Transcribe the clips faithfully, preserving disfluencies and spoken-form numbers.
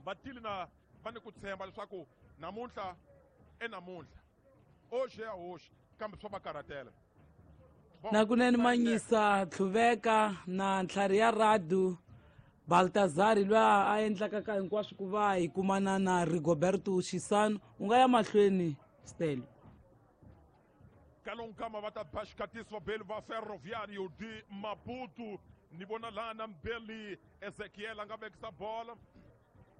Va tile na va ni ku tshemba leswaku namuntlha e namuntlha oxe ya hoxi, kambe swa va karhatela. Na kunene Manyisa Tlhuveka na ntlhari ya radu Baltazari loyi a endlaka ka hinkwaswo ku va hi kumana na Rigoberto Xisano. U nga ya mahlweni, Stelo. Kalonkama va ta ba xikatiso vabeli va Ferroviario de Maputo. Ni vona lana Mbeli Ezekiel a nga vekisa bola,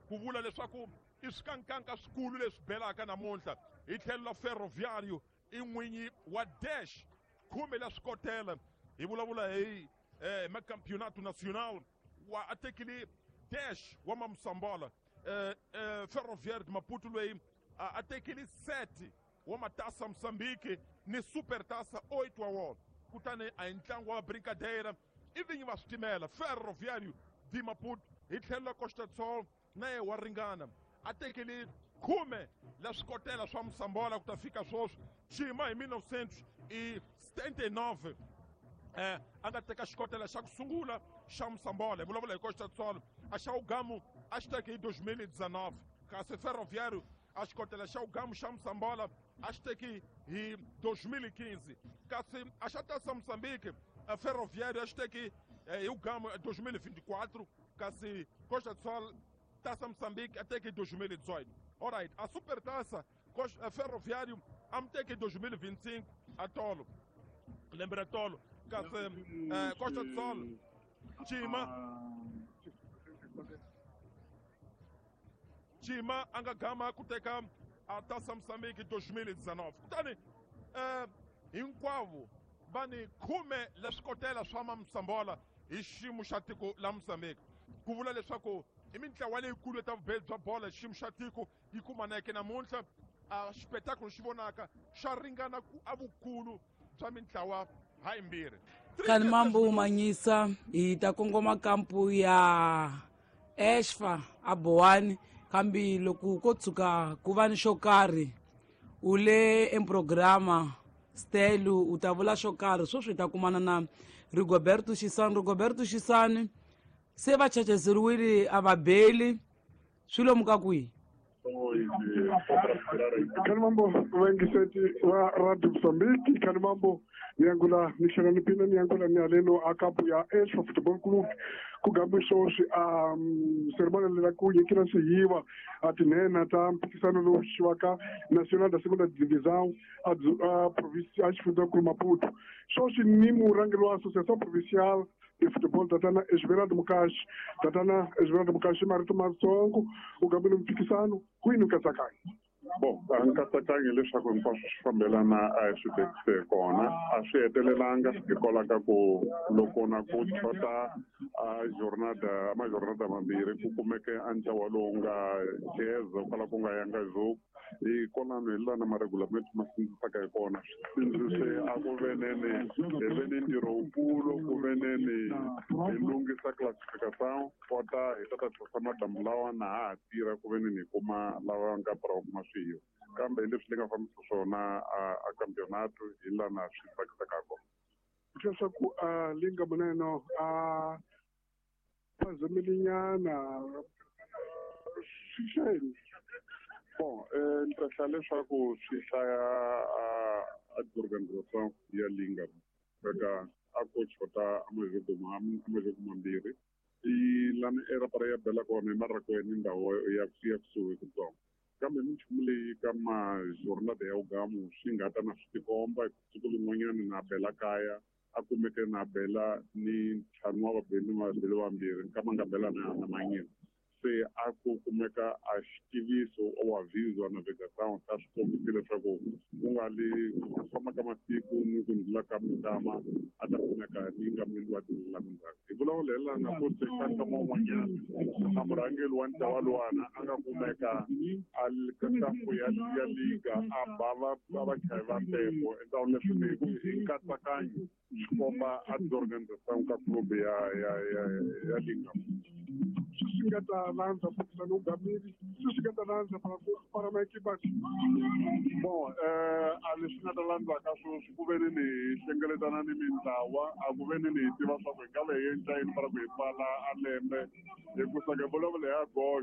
ku vula leswaku i swikankanka swikulu leswi belaka namuntlha. Hi tlhelo la Ferroviario i n'winyi wa dash khume la swikotela, hi vulavula hi eh, macampeonato nacional wa a tekile dash wa Mamusambola. eh, eh, Ferroviario de Maputo loyi a, a tekile sete wa matasa Mozambique ni super tasa oito wa wona. Kutani a hi ntlangu wa brincadeira, i vinyi va switimela Ferroviario de Maputo. Hi tlhelo la Costa Sol na ye wa ringana, a tekele khume la swikotela swa Musambola ku ta fika swoswi. Xima hi mille novecentos e setenta e nove eh, a nga teka xikotela xa ku sungula xa Musambola, hi vulavula hi Costa Sol. A xa ugamu a xi teke hi dois mil e dezenove, kasi Ferroviário a xikotela xa ugamu xa Musambola a xi teki hi dois mil e quinze, kasi a xa Taça Moçambique a Ferroviário a xi teki eh, hi ugamu dois mil e vinte e quatro, kasi Costa Sol Taça Moçambique a teke hi dois mil e dezoito. Alright, a Super Taça a Ferroviário a mi teke hi dois mil e vinte e cinco a tolo lembe ra tolo, kasi eh, Costa do Sol Chima Chima a nga gama ku teka a Taça Moçambique dois mil e dezenove. Kutani eh, hinkwavo va ni khume la swikotela swa Mamusambola hi xiyimo xa tiko la Mozambique, ku vula leswaku i mintlawa leyikulu ta vubeli bya bolo hi xiyimo xa tiko yi kumaneke namuntlha. A xipetakulu xi vonaka xa ringana ku a vukulu bya mintlawa ha yimbirhi. Kani mambo Manyisa, hi ta kongoma kampu ya Exfa a Bowani, kambe loko ko tshuka ku va ni xo karhi u le emprograma Stelu, u ta vula xo karhi sweswi. Hi ta kumana na Rigoberto Xisani. Rigoberto Xisani, se va chachazeriwile a va beli swi lomu ka kwihi? Khani mambo vayingiseti va Radio Mozambique, khani mambo ni angula ni hlakaniphile, ni angula ni haleno a kampu ya Exfa Football Club. Ku gambe swoswi a ceremony lela ku nyikela swihiwa a tinhena ta mphikisano lowu xiwaka Nacional da Segunda Divisão a a province a xifundzankulu Maputo. Swoswi ni murhangeri wa Associação Provincial de Futebol, tatana Esmeraldo Mukashi. Tatana Esmeraldo Mukashi, marito matsongo, u gambile mphikisano kwini nkatsakanyo? Bon, a nkatsakanyo leswaku hinkwaswo swi fambelana a hi swi vekise kona, a swi hetelelanga hikwalaho ka ku loko na ku xota a jornada majornada mambirhi ku kumeke a ntlawa lowu nga geza kwala ku nga yanga jogo. Hi kwalano hi lana maregulamento ma sindzisaka hi kona, swi sindzise a ku veneni hi ve ni ntirho wukulu ku veneni hi lunghisa classification kota hi ta ta tlhosa madamu lawa na ha ha tirha ku veneni hi kuma lava nga pra kuma swihiwa, kambe hi leswi ni nga fambisa swona a a campeonato hi lana swi tsakisaka kona. Leswaku a linga muneno a phazamelinyana swi hlayeni? Bon, eh, ni ta hlaya leswaku swi hlaya a a organisation ya linga eka a ko xota a majogo ma a majogo mambirhi i lana erapara ya bela kona hi Marakweni, ndhawu ya ya kusuhi kutsongo, kambe minchumu leyi ka majornada ya ugamu swi nga ta na swi tikomba siku lin'wanyana na bela kaya a kumeke na bela ni ntlhanu wa vabeli vabeli vambirhi nkama nga bela na na manyini, se a ku kumeka a xitiviso o aviso a navegação ta swi kombisi leswaku ku nga li ku famba ka masiku ni ku ndlula ka minkama a ta kumeka ni nga wa la mindzhaku. Hi vulavula hi lana ku se ka nkama wun'wanyana a murhangeri wa ntlawa luwana a nga kumeka a ka kampu ya ya liga a ba va va vachayi va tempo endzhaku, leswi ni hi nkatsakanyo swi komba a disorganisation ka club ya ya ya ya liga. Swi swi nga ta landza mphikizano wu gamile, swi swi nga ta landza para para maekipa? Bon, eh a leswi nga ta landzaka sweswi ku ve ni ni hlengeletana ni mintlawa a ku ve ni ni hi tiva swa ku hi nga ve hi endla yini para ku hi pfala a lembe, hikusa ke vulavula hi agosto.